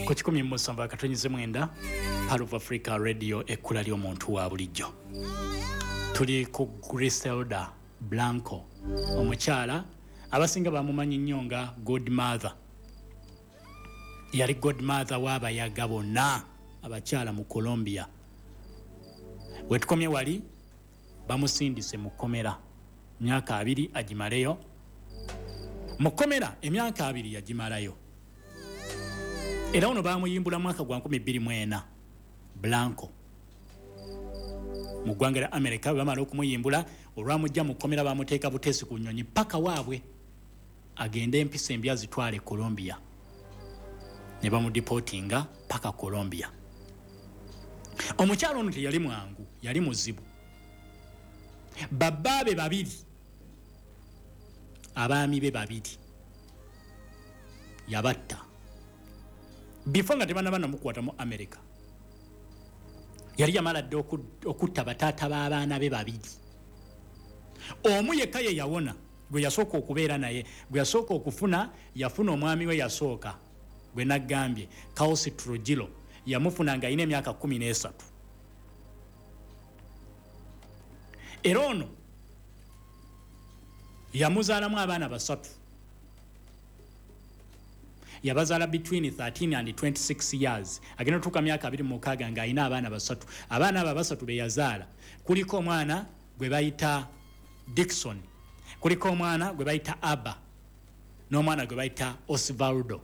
Ku 107.9 Pearl of Africa Radio, ekkula ly'omuntu wa bulijjo. Tuli ku Griselda Blanco, omukyala abasinga bamumanyi nnyo nga Godmother. Yali Godmother w'abayaga bonna abakyala mu Colombia. Wetukomye wali bamusindise mu kkomera myaka 20 agimaleyo. Mu kkomera emyaka 20 yagimalayo. Era ono bamuyimbula mwaka gwa 2004 Blanco mu ggwanga lya America. Bwe bamala okumuyimbula, olwamujja mu kkomera bamuteeka buteesi ku nnyonyi paka waabwe agende empisa embi azitwale Colombia, ne bamudeportinga paka Colombia. Omukyalo ono teyali mwangu, yali muzibu. Babaabe babiri, abaami be babiri yabatta before nga tebanaba namukwata mu America. Yali yamala dde okutta bataata b'abaana be babiri. Omu yekka ye yawona, gwe yasooka okubeera naye, gwe yasooka okufuna. Yafuna omwami we yasooka gwe naggambye, Carlos Trujillo, yamufuna nga alina emyaka 13. Era ono yamuzaalamu abaana basatu, yabazaala between 13 and 26 years. Agenda otuuka myaka 26 ng'alina abaana basatu. Abaana abo abasatu be yazaala kuliko omwana gwe bayita Dixon, kuliko omwana gwe bayita Abba, n'omwana gwe bayita Osvaldo.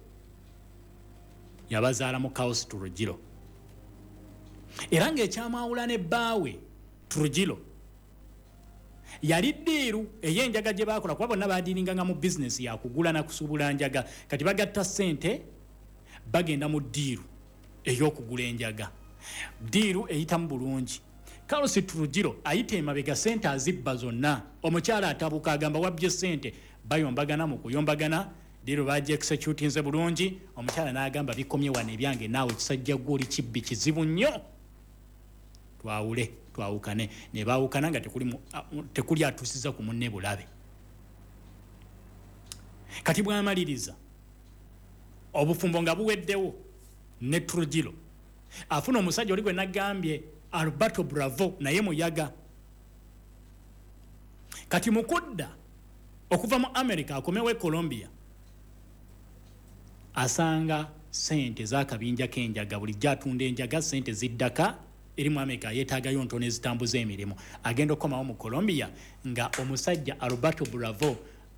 Yabazaala mu Carlos Trujillo. Era ng'ekyamwawula ne bbaawe Trujillo yali deal ey'enjaga gye baakola, kuba bonna badealinganga mu bizinesi yakugula na kusuubula njaga. Kati bagatta ssente, bagenda mu deal ey'okugula enjaga. Deal eyitamu bulungi. Carlos Trujillo ayita emabega, sente azibba zonna. Omukyala atabuka, agamba, "Wabbye sente." Bayombagana. Mu kuyombagana, deal bagi executinze bulungi. Omukyala n'agamba, "Bikomye wano ebyange naawe, kisajja gwe oli kibbi kizibu nnyo, twawule, twawukane." Ne baawukana nga tekuli atuusiza ku munne bulabe. Kati bwamaliriza obufumbo nga buweddewo ne Trujillo, afuna omusajja oli gwe nagambye, Alberto Bravo, naye muyaga. Kati mukudda okuva mu America akomewo e Colombia, asanga sente zakabinja k'enjaga. Bulijjo atunda enjaga, sente ziddaka eri mu America, yeetaagayo ntono ezitambuza emirimu. Agenda okukomawo mu Colombia nga omusajja Alberto Bravo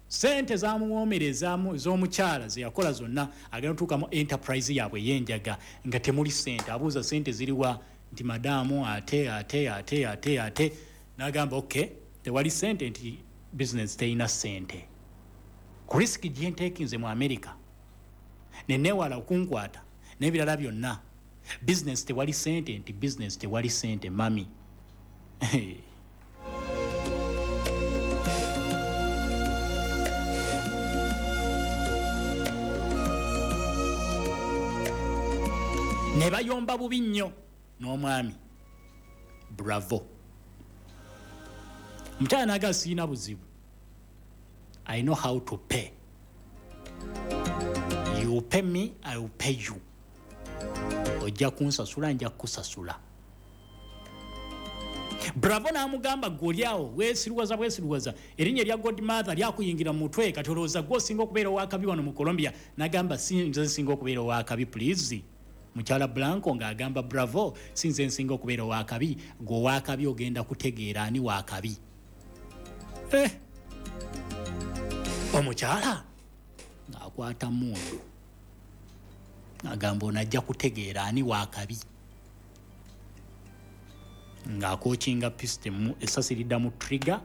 sente zamuwoomera ez'omukyala zeyakola zonna. Agenda otuuka mu enterprise yaabwe ey'enjaga nga temuli sente. Abuuza, "Sente ziriwa?" Nti, "Madaamu, ate ate ate ate ate." N'agamba, "Ok, tewali sente." Nti, "Business terina sente. Ku risk gyenteekinze mu America neneewala okunkwata n'ebirala byonna, business tewali sente." Nti, "Business tewali sente, mami." Ne bayomba bubi nnyo n'omwami Bravo. Omukyala naga, "Siina buzibu, I know how to pay you. Pay me, I will pay you. Ojja kunsasula, nja kukusasula." Bravo n'amugamba, "Gwe oli awo weesiruwaza bwesiruwaza, erinnya erya Godmother lyakuyingira mu mutwe, kati olowooza gwe osinga okubeera owakabi wano mu Colombia." N'agamba, "Si nze nsinga okubeera owakabi, please." Mukyala Blanco ng'agamba Bravo, "Si nze nsinga okubeera owakabi, gwe owakabi, ogenda kutegeera ani wakabi." Eh. Omukyala ng'akwata mundu, agamba, "Ono ajja kutegeera ani wakabi." Ng'acockinga pistol, essasi lidda mu trigger,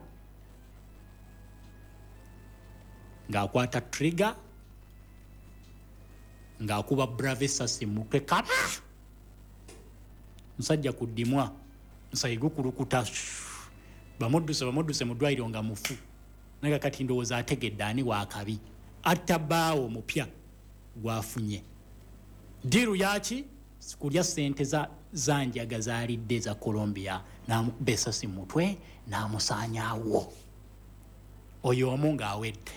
ng'akwata trigger, ng'akuba Bravo essasi mutwe kaba musajja ku ddimwa, musayi gukulukuta. Bamudduse, bamudduse mu ddwaliro nga mufu. Naye kati ndowooza ategedde ani wakabi. Atta bbaawo omupya gwafunye. Deal yaki kulya sente za njaga zalidde za Colombia. N'amukuba essasi mutwe n'amusaanyaawo. Oyo omu ng'awedde.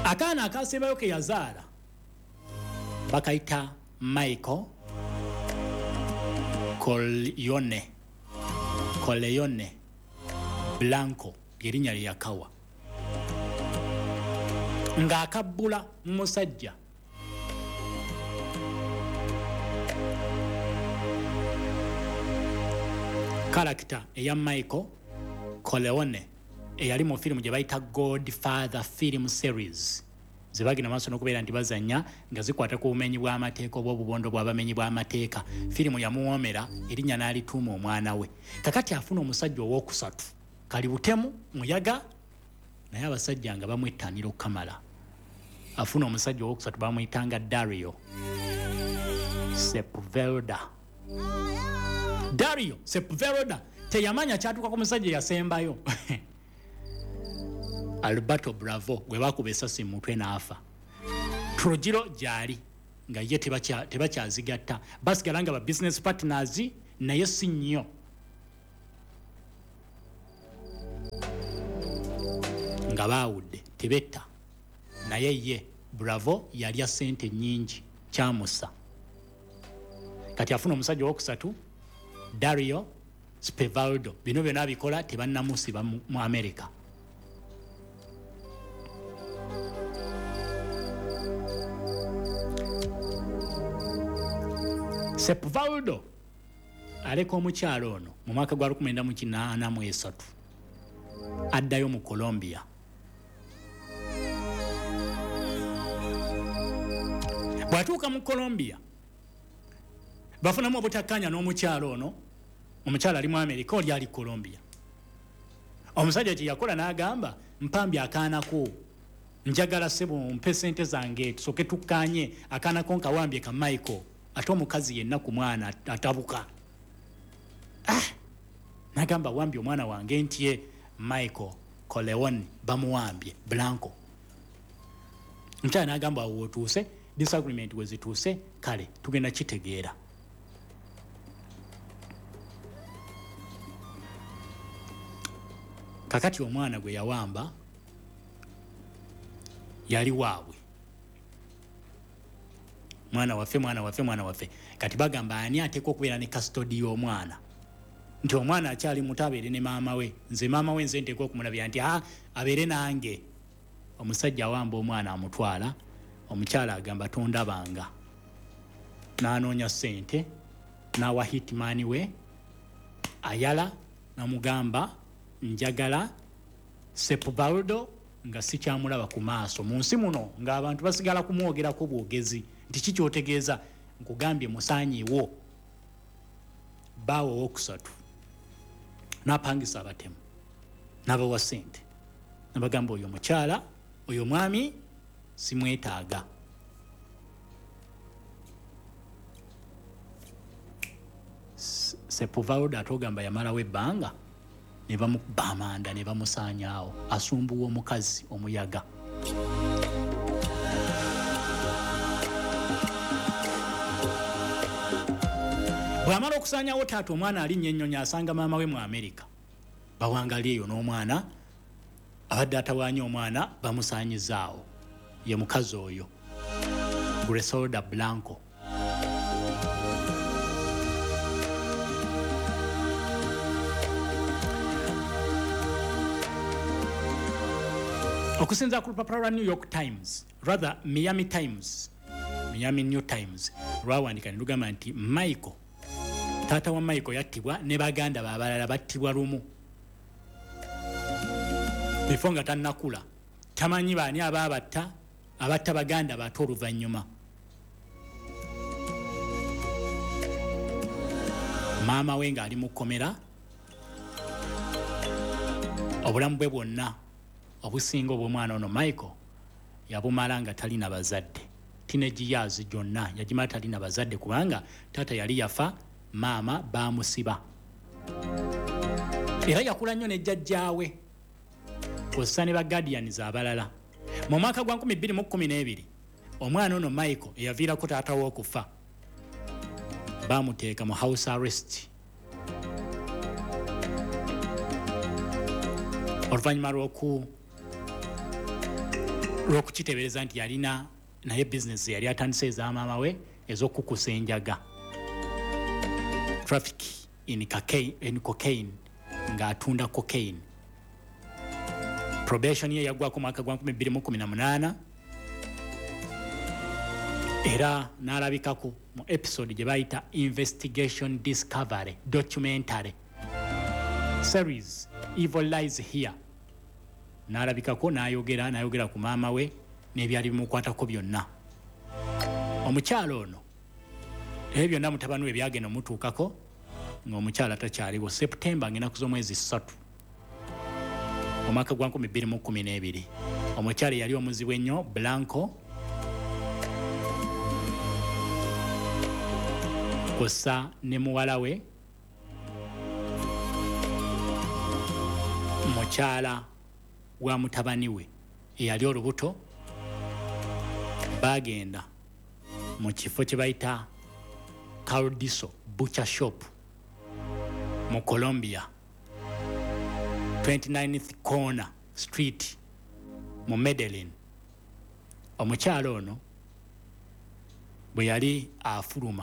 Akaana akasembayo ke yazaala bakayita Michael Corleone Blanco, lyerinnya lye yakawa ng'akabbula mu musajja. Karakita eya Michael Corleone eyali mu firimu gye bayita Godfather film series, ze bagenda maaso n'okubeera nti bazannya nga zikwata ku bumenyi bw'amateeka oba obubondo bw'abamenyi bw'amateeka. Firimu yamuwoomera, erinnya n'alituuma omwana we. Kakati afuna omusajja owookusatu, kali butemu muyaga, naye abasajja nga bamwettanira okukamala. Afuna omusajja owookusatu bamuyitanga Dario Sepulveda. Dario Sepulveda teyamanya kyatuuka ku musajja yasembayo Alberto Bravo gwe bakuba essasi mu mutwe n'afa. Trujillo gyali nga ye tebakyazigatta, basigala nga ba business partners naye si nnyo. Nga baawudde tebetta, naye ye Bravo yalya ssente nnyingi kyamusa. Kati afuna omusajja owokusatu Dario Spevaldo. Bino byonna abikola tebannamusiba mu America. Sepulveda aleka omukyalo ono mu mwaka gwa 1983, addayo mu Colombia. Bw'atuuka mu Colombia bafunamu obutakkaanya n'omukyalo ono. Omukyalo ali mu America, oli ali Colombia. Omusajja kye yakola n'agamba, mpambye akaanako, njagala ssebo mpe sente zange tusooke tukkaanye, akaanako nkawambye ka Michael. Ate omukazi yenna ku mwana atabuka. N'agamba wambye omwana wange nti ye Michael Corleone bamuwambye Blanco. Omukyala n'agamba awo w'otuuse, disagreement we zituuse, kale tugenda kitegeera. Kakati omwana gwe yawamba yali waabwe, mwana waffe, mwana waffe, mwana waffe. Kati bagamba ani ateekwa okubeera ne custody y'omwana, nti omwana akyali muto abeere ne maama we, nze maama we nze nteekwa okumulabira nti abeere nange. Omusajja awamba omwana amutwala, omukyala agamba tondabanga, n'anoonya ssente n'awa hitman we Ayala, n'amugamba njagala Sepulveda nga sikyamulaba ku maaso mu nsi muno, ng'abantu basigala kumwogerako bwogezi nti ki ky'otegeeza, nkugambye musaanyiwo. Bbaawe owokusatu n'apangisa abatemu n'abawa ssente, n'abagamba oyo omukyala, oyo omwami simwetaaga. Sepulveda ate ogamba yamalawo ebbanga ne bamukuba amanda ne bamusaanyaawo, asumbuwa omukazi omuyaga. Bw'amala okusaanyaawo taata, omwana alinnya ennyonyi asanga maama we mu Amerika, bawangali eyo n'omwana abadde atawaanya omwana bamusaanyizaawo, ye mukazi oyo Griselda Blanco. Okusinza ku lupapula lwa New York Times, rather Miami Times, Miami New Times, lwawandika ne lugamba nti Michael, taata wa Michael yattibwa ne baganda be abalala battibwa lumu bifo nga tannakula, tamanyi baani abaabatta, abatta baganda baate oluvannyuma. Maama we ng'ali mu kkomera obulamu bwe bwonna obusinga obw'omwana ono Michael yabumala nga talina bazadde. Teenage years gyonna yagimala talina bazadde, kubanga taata yali yafa, maama baamusiba. Era yakula nnyo ne jjajjaawe kw'ossa ne ba guardians abalala. Mu mwaka gwa 2012 omwana ono Michael eyaviirako taata we okufa baamuteeka mu house arrest oluvannyuma lw'oku Lw'okukiteebereza nti yalina naye bizinesi yali atandise eza maama we ez'okukusa enjaga, traffic in cocaine, ng'atunda cocaine. Probation ye yaggwako mwaka gwa 2018 era n'alabikako mu episode gye bayita Investigation Discovery documentary series Evil Lies Here. N'alabikako n'ayogera ku maama we n'ebyali bimukwatako byonna. Omukyalo ono, ebyo byonna mutabani we byagenda omutuukako ng'omukyala takyaliwo. September, ng'ennaku z'omwezi 3, omwaka gwa 2012, omukyala eyali omuzibu ennyo Blanco kw'ossa ne muwala we, mukyala wa mutabani we eyali olubuto, bagenda mu kifo kye bayita Caldiso Butcher Shop mu Colombia, 29th Corner Street mu Medellin. Omukyala ono bwe yali afuluma